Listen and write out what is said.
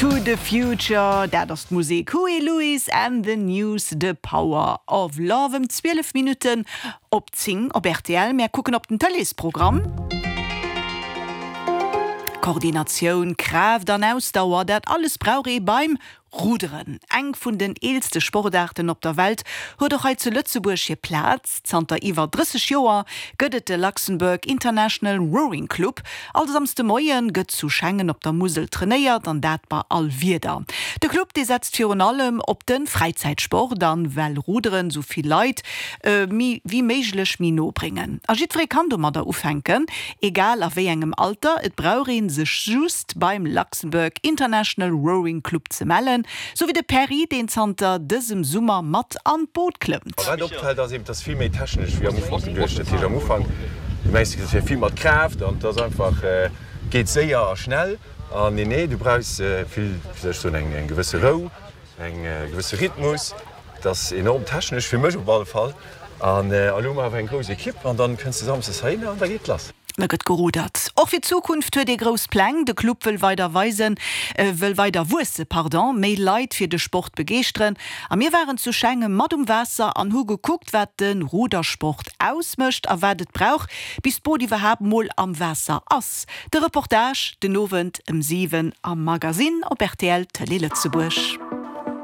To the Future, dat ass d'Musek. Huey Lewis and the News, The Power of Love. Ëm 12 Minutten op 10 op rtl. Mär kucken op den Tëleesprogramm. Koordinatioun, Kraaft an Ausdauer, dat alles brauch ee beim Ruderen, eng vun den eelste Sportaarten op der Welt, huet och hei zu Lëtzebuerg hir Plaz. Zanter iwwer 30 Joer gëtt et de Luxembourg International Rowing Club. All Samsde Moie gëtt zu Schengen op der Musel trainéiert, an dat bei all Wieder. De Club, dee setzt virun allem op de Fräizäitsport an well Ruderen sou vill Leit wéi méiglech méi no bréngen. A jiddweree kann domadder ufänken, egal a wéi engem Alter. Et brauch ee sech just beim Luxembourg International Rowing Club ze mellen, sou wéi de Perry, deen zanter dësem Summer mat an d'Boot klëmmt. Wat opfält ass eben, et ass vill méi technesch wéi am Ufank geduecht. Dat heescht am Ufank, du mengs et wier vill mat Kraaft an et ass einfach, geet séier a schnell. An nee, nee, du brauchs vill, wéi soll ech soen, eng gewësse Rou, Eng gewësse Rhythmus, et ass enorm technesch, fir mech op alle Fall. An elo hu mer awer eng grouss Ekipp an dann kënns de samsdes heihinner an da geet lass. Da gëtt gerudert. Och fir d'Zukunft huet ee grouss Pläng. De Club wëll weider weisen, wëll weider wuesse, pardon, méi Leit fir de Sport begeeschteren. A mir waren zu Schengen mat um Waasser an hu gekuckt, wat de Rudersport ausmécht a wat et brauch, bis d'Boot iwwerhaapt mol am Waasser ass. De Reportage den Owend ëm 7 am Magasinn op rtl Tëlee Lëtzebuerg.